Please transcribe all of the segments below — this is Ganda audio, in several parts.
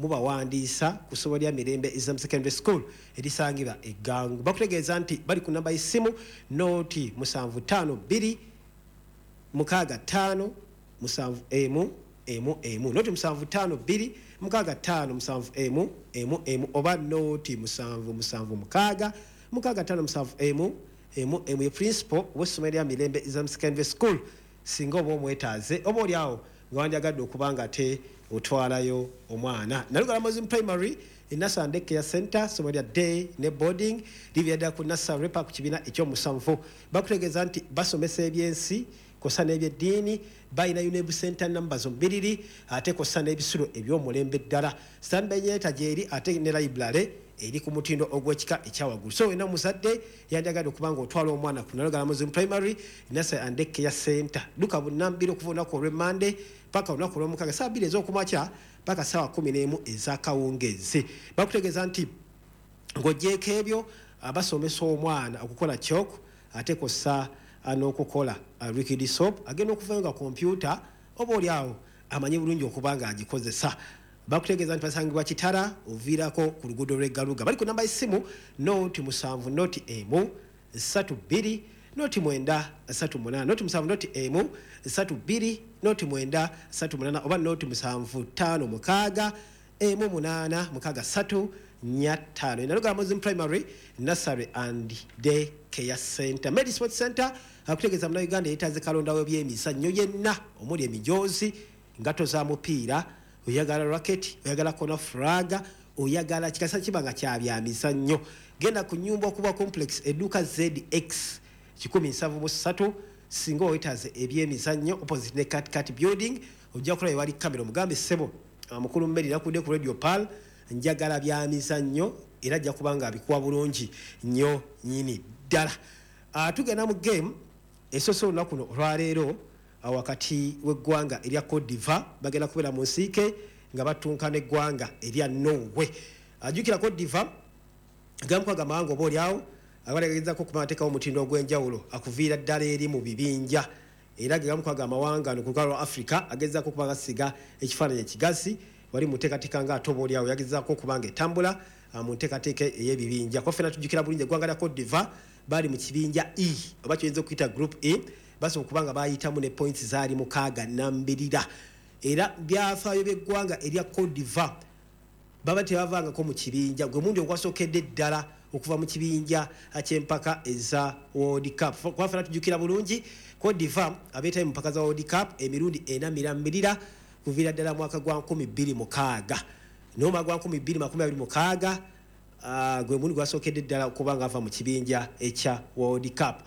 Mubawandiisa ku ssomero lya Mirembe Islam Secondary School erisangibwa Eggangu. Bakutegeeza nti bali ku namba y'essimu 0 7 5 2 6 5 7 1 1 1, 0 7 5 2 6 5 7 1 1 1, oba 0 7 7 6 6 5 7 1 1 1. Ye principal w'essomero lya Mirembe Islam Secondary School. Singa oba omwetaaze, oba oli awo nga wandyagadde okuba nga ate otwalayo omwana. Nalugala Muslim Primary Nursery Care Center, ssomero lya day ne boarding, livira ddala ku nursery pa ku kibiina ekyomusanvu. Bakutegeeza nti basomesa ebyensi kosa n'ebyeddiini. Balina UNEB center number zombiriri, ate kosa n'ebisulo ebyomulembe ddala. Standby generator gyeri, ate ne library eri ku mutindo ogw'ekika ekyawaggulu. So wena omuzadde yandyagadde okuba nga otwala omwana ku Nalugala Muslim Primary Nursery and Care Center, duka bunnambiro okuva olunaku olw'Emmande paka olunaku olw'Omukaaga, saa 2 ez'okumakya paka saawa 11 ez'akawungeezi. Bakutegeeza nti ng'ogyeko ebyo, basomesa omwana okukola chalk, ate kossa n'okukola liquid soap. Agenda okuvayo nga kompyuta oba oli awo amanyi bulungi okuba nga agikozesa. Bakutegeeza nti basangibwa Kitara, oviirako ku luguudo lw'Eggaluga. Bali ku namba y'essimu 0 7 0 1 3 2 0 9 3 8, 0 7 0 1 3 2 0 9 3 8, oba 0 7 5 6 1 8 6 3 4 5. Nalugala Muslim Primary Nursery and Day Care Center. Medi Sport Center akutegeeza Munnayuganda yeetaaze kalonda w'ebyemizannyo yenna omuli emijoozi, ngato za mupiira, oyagala racket, oyagala corner flag, oyagala kikasa kiba nga kyabyamizannyo, genda ku nyumba okuba complex, edduuka ZX 173. Singa owetaaze ebyemizannyo, opposite ne Cat Building, ojja kulaba wali kamera. Omugambe, "Ssebo mukulu Mmeri, nakudde ku Radio Pal, njagala byamizannyo," era ajja kuba nga abikuwa bulungi nnyo nyini ddala. Tugenda mu game esoose olunaku luno olwaleero, wakati w'eggwanga erya Cote d'Ivoire, bagenda kubeera mu nsiike nga batunka n'eggwanga erya Norway. Ajjukira Cote d'Ivoire gamukaga amawanga oba oliawo abalagezako okuba ateekawo omutindo ogw'enjawulo akuviira ddala eri mu bibinja, era ge gamukaga amawanga no ku lukalu lwa Africa agezaako okuba gasiga ekifaananyi ekigazi wali mu nteekateeka nga ate oba oliawo yagezaako okuba nga etambula mu nteekateeka ey'ebibinja. Kuba ffenna tujjukira bulungi eggwanga lya Cote d'Ivoire bali mu kibinja E, oba kyoyinza okuyita group E. Basobola okuba nga bayitamu ne points zaali 6 nambirira, era byafaayo by'eggwanga erya Cote d'Ivoire baba tebavangako mu kibinja. Gwe mundi ogwasookedde ddala okuva mu kibinja ky'empaka eza World Cup. Kuba ffenna tujjukira bulungi Cote d'Ivoire abeetayo mu mpaka za World Cup emirundi ena mirambirira kuviira ddala mwaka gwa 2006. N'omwaka gwa 2026 gwe mundi gwasookedde ddala okuba nga ava mu kibinja ekya World Cup.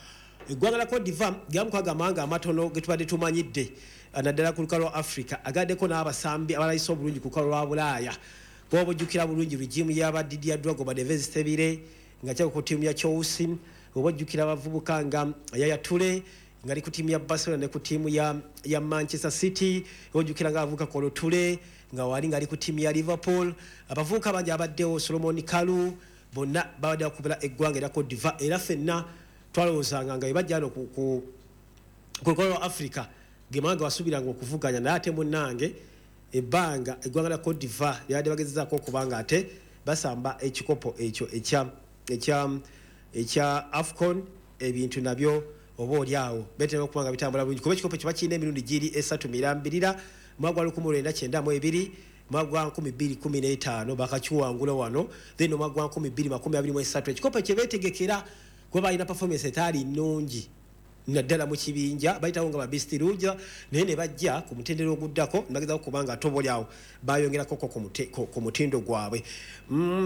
Eggwanga la Cote d'Ivoire gamukaga amawanga amatono ge tubadde tumanyidde, naddala ku lukalu lwa Africa, agaddeko n'abasambi abalayisa obulungi ku lukalu lwa Bulaaya. Kuba bujjukira bulungi regime y'aba Didier Drogba, Devis Tebire nga kyako ku ttiimu ya Chelsea, oba ojjukira abavubuka nga Yaya Toure nga ali ku ttiimu ya Barcelona ne ku ttiimu ya Manchester City, oba ojjukira nga abavubuka Kolo Toure nga wali nga ali ku ttiimu ya Liverpool. Abavubuka bangi abaddewo, Solomon Kalou, bonna babadde bakubira eggwanga erya Cote d'Ivoire, era ffenna twalowoozanga nga bebajja no ku lukalu lwa Africa ge mawanga wasuubiranga okuvuganya. Naye ate munnange, ebbanga eggwanga lya Cote d'Ivoire lyabadde bagezezaako okuba nga ate basamba ekikopo ekyo ekya AFCON, ebintu nabyo oba oli awo betera okuba nga bitambula bulungi, kuba ekikopo ekyo bakirina emirundi giri esatu mirambirira. Mwaka gwa 1992, mwaka gwa 2015 bakakiwangula wano, then omwaka gwa 2023. Ekikopo ekyo beetegekera kuba balina performance etaali nnungi, naddala mu kibinja bayitawo nga babisitiruja, naye ne bajja ku mutendera oguddako ne bagezaako kuba nga ate oba oli awo bayongerakoko ku mutindo gwabwe.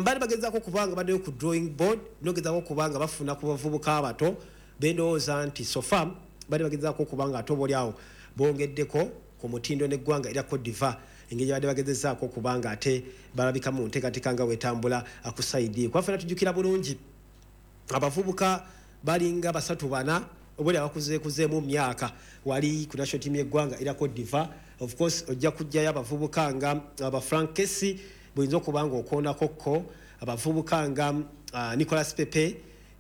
Bali bagezaako kuba nga baddeyo ku drawing board nogezaako kuba nga bafuna ku bavubuka abato bendowooza nti so far bali bagezaako okuba nga ate oba oli awo bongeddeko ku mutindo n'eggwanga erya Cote d'Ivoire, engeri gyebadde bagezezaako okuba nga ate balabika mu nteekateeka nga wetambula ku side. Kuba ffenna tujjukira bulungi abavubuka balinga basatu bana obuli abakuzeekuzeemu mu myaka wali ku national team y'eggwanga erya Cote d'Ivoire. Of course ojja kujjayo abavubuka nga aba Frank Kessié, buyinza okuba nga okoonako ko abavubuka nga Nicolas Pepe.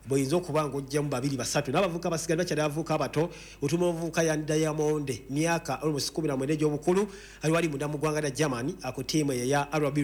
Bw'oyinza okuba ng'ojjamu babiri basatu n'abavubuka basigadde bakyali abavubuka abato. Otuma omuvubuka Yan Diamond, myaka almost 19 egy'obukulu, ali wali munda mu ggwanga lya Germany ku ttiimu eyo eya RB.